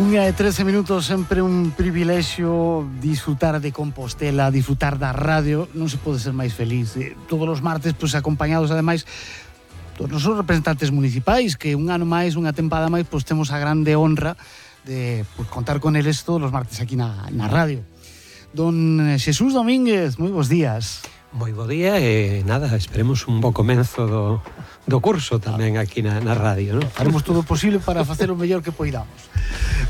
Unha de 13 minutos, sempre un privilexio disfrutar de Compostela, disfrutar da radio, non se pode ser máis feliz. Todos os martes, pois, acompañados, ademais, todos os representantes municipais, que un ano máis, unha tempada máis, pois temos a grande honra de pois, contar con eles todos os martes aquí na radio. Don Xesús Domínguez, moi bons días. Moi bo día e nada, esperemos un bo comenzo do curso tamén aquí na radio, non? Faremos todo o posible para facer o mellor que poidamos.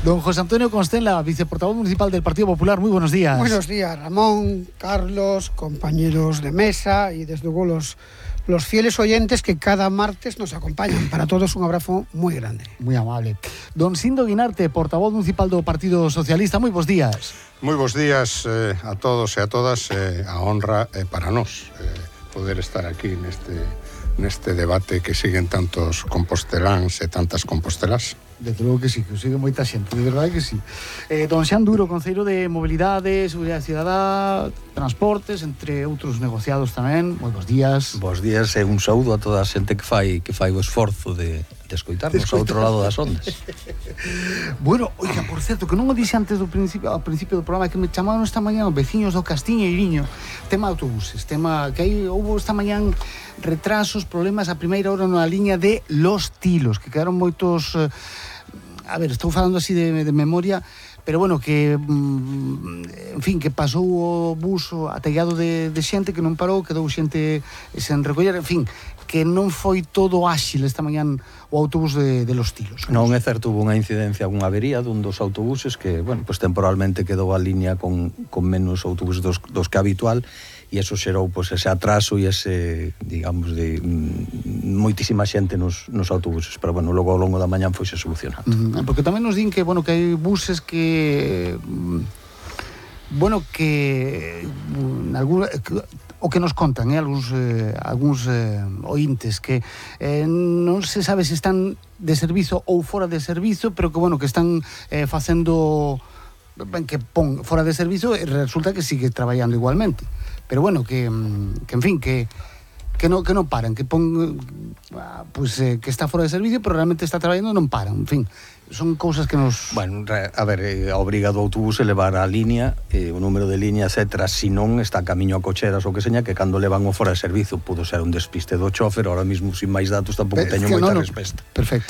Don José Antonio Constenla, viceportavoz municipal del Partido Popular, moi buenos días. Buenos días, Ramón, Carlos, compañeros de mesa y desde luego los fieles oyentes que cada martes nos acompañan. Para todos un abrazo moi grande. Moi amable. Don Sindo Guinarte, portavoz municipal do Partido Socialista, moi bons días. Moi bons días a todos e a todas. A honra é para nós poder estar aquí neste debate que siguen tantos composteláns e tantas compostelas. Desde logo que sí, que o sigue moita xente, de verdade que sí. Don Xan Duro, Concelleiro de Mobilidade, Seguridade Cidadá, Transportes, entre outros negociados tamén. Moi bons días. Bos días e un saúdo a toda a xente que fai o esforzo de escoitarnos ao outro lado das ondas. Bueno, oiga, por certo, que non o dixe antes ao principio do programa, que me chamaron esta mañá os veciños do Castiñeiriño, tema autobuses, tema que aí houve esta mañán retrasos, problemas a primeira hora na liña de Los Tilos, que quedaron moitos... A ver, estou falando así de memoria, pero bueno, que en fin, que pasou o bus atellado de xente que non parou, quedou xente sen recoller, en fin, que non foi todo áxil esta mañán o autobús de Los Tilos. Non é certo, hubo unha incidencia, unha avería dun dos autobuses que, bueno, pues temporalmente quedou a liña con menos autobuses dos que habitual, e eso xerou pues, ese atraso e ese, digamos, de moitísima xente nos autobuses, pero bueno, logo ao longo da mañán foise solucionando. Porque tamén nos din que, bueno, que hai buses que bueno, que o que nos contan, algúns ointes que non se sabe se están de servizo ou fora de servizo, pero que, bueno, que están facendo que pon fora de servizo e resulta que sigue traballando igualmente. Pero bueno, que en fin, que non paran, que pon pues, que está fora de servicio, pero realmente está traballando e non paran, en fin. Son cousas que nos... Bueno, a ver, a obriga do autobús é levar a liña, o número de línea, etcétera, se non está a camiño a cocheras ou que seña, que cando levan o fora de servizo pudo ser un despiste do chofer, ahora mismo sin máis datos tampouco teño moita resposta. Perfecto.